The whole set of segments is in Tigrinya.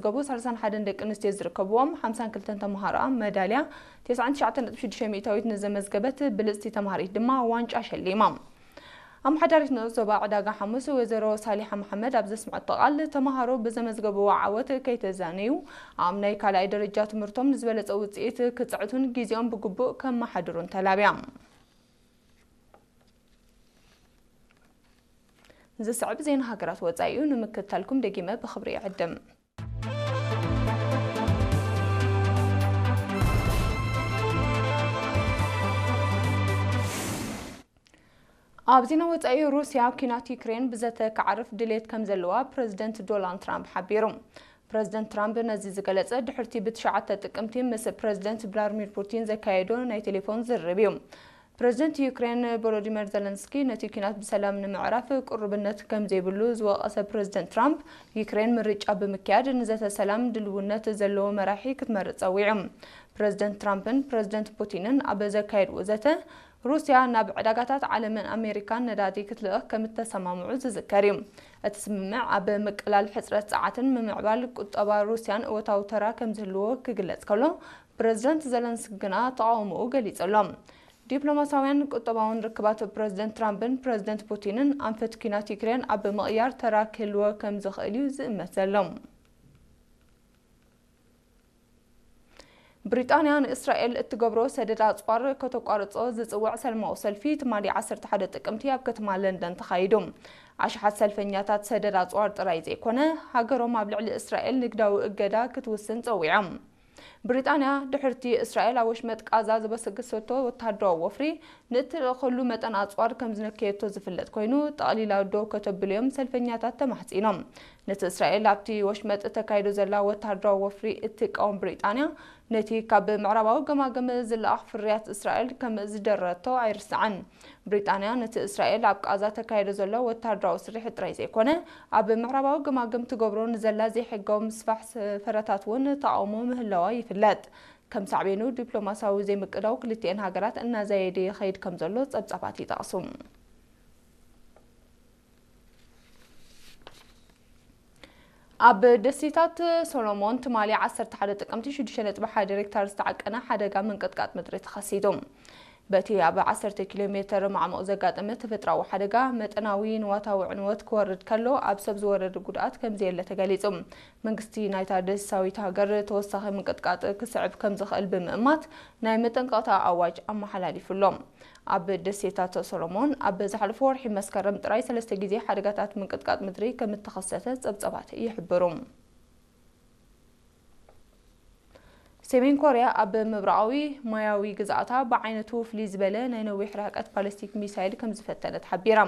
ዘመዝገቡ ሰላሳን ሓደን ደቂ ኣንስትዮ ዝርከብዎም ሓምሳን ክልተን ተምሃሮኣ መዳልያ፣ ተስዓን ትሽዓተን ነጥቢ ሽዱሽተ ሚእታዊት ንዘመዝገበት ብልጽቲ ተምሃሪት ድማ ዋንጫ ሸሊማ። ኣመሓዳሪት ንኡስ ዞባ ዕዳጋ ሓሙስ ወይዘሮ ሳሊሓ መሓመድ ኣብ ዘስምዐቶ ቃል፣ ተምሃሮ ብዘመዝገብዎ ዓወት ከይተዛነዩ፣ ኣብ ናይ ካልኣይ ደረጃ ትምህርቶም ንዝበለጸ ውጽኢት ክጽዕቱን ግዜኦም ብግቡእ ከመሓድሩን ተላብያ። ዝስዕብ ዜና ሃገራት ወጻኢ እዩ፣ ንምክትታልኩም ደጊመ ብኽብሪ ይዕድም። ኣብ ዜና ወጻኢ፣ ሩስያ ኲናት ዩክሬን ብዘተ ክዓርፍ ድሌት ከም ዘለዋ ፕረዚደንት ዶናልድ ትራምፕ ሓቢሩ። ፕረዚደንት ትራምፕ ነዚ ዝገለጸ ድሕርቲ ብትሽዓተ ጥቅምቲ ምስ ፕረዚደንት ቭላድሚር ፑቲን ዘካየዶ ናይ ቴሌፎን ዝርርብ እዩ። ፕረዚደንት ዩክሬን ቮሎዲሚር ዘለንስኪ ነቲ ኲናት ብሰላም ንምዕራፍ ቅሩብነት ከም ዘይብሉ ዝወቐሰ ፕረዚደንት ትራምፕ፣ ዩክሬን ምርጫ ብምክያድ ንዘተ ሰላም ድልውነት ዘለዎ መራሒ ክትመርጽ ጸዊዑ። ፕረዚደንት ትራምፕን ፕረዚደንት ፑቲንን ኣብ ዘካየድዎ ዘተ፣ ሩስያ ናብ ዕዳጋታት ዓለምን ኣሜሪካን ነዳዲ ክትልእኽ ከም እተሰማምዑ ዝዝከር እዩ። እቲ ስምምዕ ኣብ ምቅላል ሕጽረት ጸዓትን ምምዕባል ቁጠባ ሩስያን እወታዊ ተራ ከም ዝህልዎ ክግለጽ ከሎ፣ ፕረዚደንት ዘለንስኪ ግና ተቓውሞኡ ገሊጹ ኣሎ። ዲፕሎማሳውያን ቁጠባውን ርክባት ፕረዚደንት ትራምፕን ፕረዚደንት ፑቲንን ኣንፈት ኲናት ዩክሬን ኣብ ምቕያር ተራ ክህልዎ ከም ዝኽእል እዩ ዝእመት ዘሎ። ብሪጣንያ ንእስራኤል እትገብሮ ሰደድ ኣጽዋር ከተቋርጾ ዝጽውዕ ሰላማዊ ሰልፊ ትማሊ ዓሰርተ ሓደ ጥቅምቲ ኣብ ከተማ ለንደን ተኻይዱ። ኣሽሓት ሰልፈኛታት ሰደድ ኣጽዋር ጥራይ ዘይኮነ፣ ሃገሮም ኣብ ልዕሊ እስራኤል ንግዳዊ እገዳ ክትውስን ጸዊዖም። ብሪጣንያ ድሕርቲ እስራኤል ኣብ ወሽመጥ ቃዛ ዝበሰገሰቶ ወተሃደራዊ ወፍሪ፣ ንእትልእኸሉ መጠን ኣጽዋር ከም ዝነከየቶ ዝፍለጥ ኮይኑ፣ ጠቕሊላ ደው ከተብልዮም ሰልፈኛታት ተማሕጺኖም። ነቲ እስራኤል ኣብቲ ወሽመጥ ተካይዶ ዘላ ወተሃደራዊ ወፍሪ እትቃወም ብሪጣንያ፣ ነቲ ካብ ምዕራባዊ ገማግም ዝለኣኽ ፍርያት እስራኤል ከም ዝደረቶ ኣይርስዓን። ብሪጣንያ ነቲ እስራኤል ኣብ ቃዛ ተካይዶ ዘሎ ወተሃደራዊ ስርሒት ጥራይ ዘይኮነ፣ ኣብ ምዕራባዊ ገማግም ትገብሮ ንዘላ ዘይሕጋዊ ምስፋሕ ሰፈራታት እውን ተቓውሞ ምህላዋ ይፍለጥ። ከም ሳዕቤኑ ዲፕሎማሲያዊ ዘይምቅዳው ክልቲኤን ሃገራት እናዛየደ ይኸይድ ከም ዘሎ ጸብጻባት ይጠቕሱ። ኣብ ደሴታት ሶሎሞን ትማሊ ዓሰርተ ሓደ ጥቅምቲ ሽዱሽተ ነጥቢ ሓደ ሪክተር ዝተዓቀነ ሓደጋ ምንቅጥቃጥ ምድሪ ተኸሲቱ። በቲ ኣብ ዓሰርተ ኪሎ ሜተር ማዕሙቕ ዘጋጠመ ተፈጥሮኣዊ ሓደጋ፣ መጠናዊ ንዋታዊ ዕንወት ክወርድ ከሎ፣ ኣብ ሰብ ዝወረደ ጉድኣት ከም ዘየለ ተገሊጹ። መንግስቲ ናይታ ደሴታዊት ሃገር ተወሳኺ ምንቅጥቃጥ ክስዕብ ከም ዝኽእል ብምእማት፣ ናይ መጠንቀቕታ ኣዋጅ ኣመሓላሊፉ ኣሎ። ኣብ ደሴታት ሶሎሞን ኣብ ዝሓለፈ ወርሒ መስከረም ጥራይ ሰለስተ ግዜ ሓደጋታት ምንቅጥቃጥ ምድሪ ከም እተኸሰተ ጸብጻባት ይሕብሩ። ሰሜን ኮርያ ኣብ ምብራቓዊ ማያዊ ግዝኣታ ብዓይነቱ ፍልይ ዝበለ ናይ ነዊሕ ርሕቀት ባሊስቲክ ሚሳይል ከም ዝፈተነት ሓቢራ።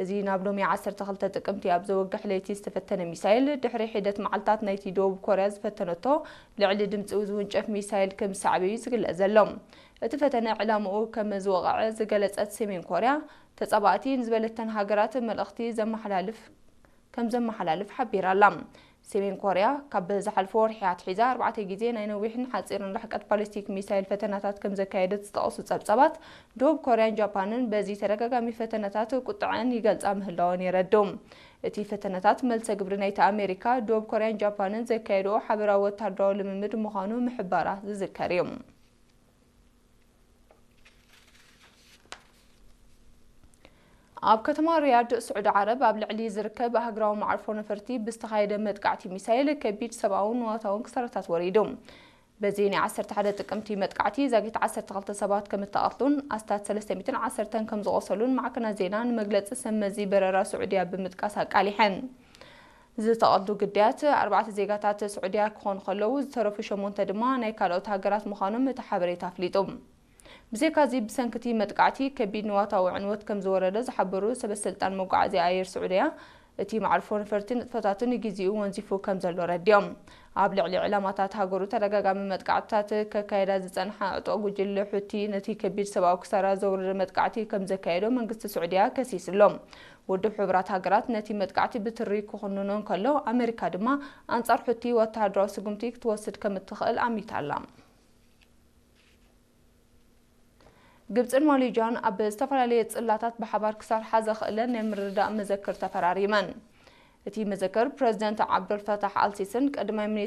እዚ ናብ ሎሚ ዓሰርተ ክልተ ጥቅምቲ ኣብ ዘወግሕ ለይቲ ዝተፈተነ ሚሳይል፣ ድሕሪ ሒደት መዓልታት ናይቲ ደቡብ ኮርያ ዝፈተነቶ ልዕሊ ድምፂ ዝውንጨፍ ሚሳይል ከም ዝሰዓበ እዩ ዝግለጽ ዘሎ። እቲ ፈተነ ዕላምኡ ከም ዝወቕዐ ዝገለጸት ሰሜን ኮርያ፣ ተጻባእቲ ንዝበለተን ሃገራት መልእኽቲ ዘመሓላልፍ ከም ዘመሓላልፍ ሓቢራ ኣላ። ሰሜን ኮርያ ካብ ዝሓለፈ ወርሒ ኣትሒዛ ኣርባዕተ ግዜ ናይ ነዊሕን ሓጺርን ርሕቀት ባሊስቲክ ሚሳይል ፈተናታት ከም ዘካየደት ዝጠቐሱ ጸብጻባት፣ ደቡብ ኮርያን ጃፓንን በዚ ተደጋጋሚ ፈተናታት ቁጥዐን ይገልጻ ምህላወን የረድኡ። እቲ ፈተናታት መልሰ ግብሪ ናይቲ ኣሜሪካ፣ ደቡብ ኮርያን ጃፓንን ዘካየድኦ ሓበራዊ ወታደራዊ ልምምድ ምዃኑ ምሕባራ ዝዝከር እዩ። ኣብ ከተማ ሪያድ ስዑዲ ዓረብ ኣብ ልዕሊ ዝርከብ ሃገራዊ መዓርፎ ነፈርቲ ብዝተኻየደ መጥቃዕቲ ሚሳይል ከቢድ ሰብኣውን ንዋታውን ክሳራታት ወሪዱ። በዚ ናይ ዓሰርተ ሓደ ጥቅምቲ መጥቃዕቲ ዛጊት ዓሰርተ ክልተ ሰባት ከም እተቐትሉን ኣስታት ሰለስተ ሚእትን ዓሰርተን ከም ዝቖሰሉን ማዕከናት ዜና ንመግለጺ ሰብ መዚ በረራ ስዑድያ ብምጥቃስ ኣቃሊሐን። ዝተቐትሉ ግዳያት ኣርባዕተ ዜጋታት ስዑድያ ክኾኑ ከለዉ፣ ዝተረፉ ሸሞንተ ድማ ናይ ካልኦት ሃገራት ምዃኖም እቲ ሓበሬታ ኣፍሊጡ። ብዘይካዚ፣ ብሰንኪ እቲ መጥቃዕቲ ከቢድ ንዋታዊ ዕንወት ከም ዝወረደ ዝሓበሩ ሰበስልጣን መጓዓዝያ ኣየር ስዑድያ፣ እቲ መዓርፎ ነፈርቲ ንጥፈታቱ ንግዜኡ ወንዚፉ ከም ዘሎ ረዲኦም። ኣብ ልዕሊ ዕላማታት ሃገሩ ተደጋጋሚ መጥቃዕትታት ከካየዳ ዝጸንሓ ዕጡቕ ጉጅለ ሑቲ፣ ነቲ ከቢድ ሰብኣዊ ክሳራ ዘውረደ መጥቃዕቲ ከም ዘካየዶ መንግስቲ ስዑድያ ከሲሱ ኣሎ። ውድብ ሕቡራት ሃገራት ነቲ መጥቃዕቲ ብትሪ ክኹንኖ እንከሎ፣ ኣመሪካ ድማ ኣንጻር ሑቲ ወተሃደራዊ ስጉምቲ ክትወስድ ከም እትኽእል ኣሚታ ኣላ። ግብጽን ማሌዥያን ኣብ ዝተፈላለየ ጽላታት ብሓባር ክሰርሓ ዘኽእለን ናይ ምርድዳእ መዘክር ተፈራሪመን። እቲ መዘክር፣ ፕረዚደንት ዓብደልፈታሕ ኣልሲስን ቀዳማይ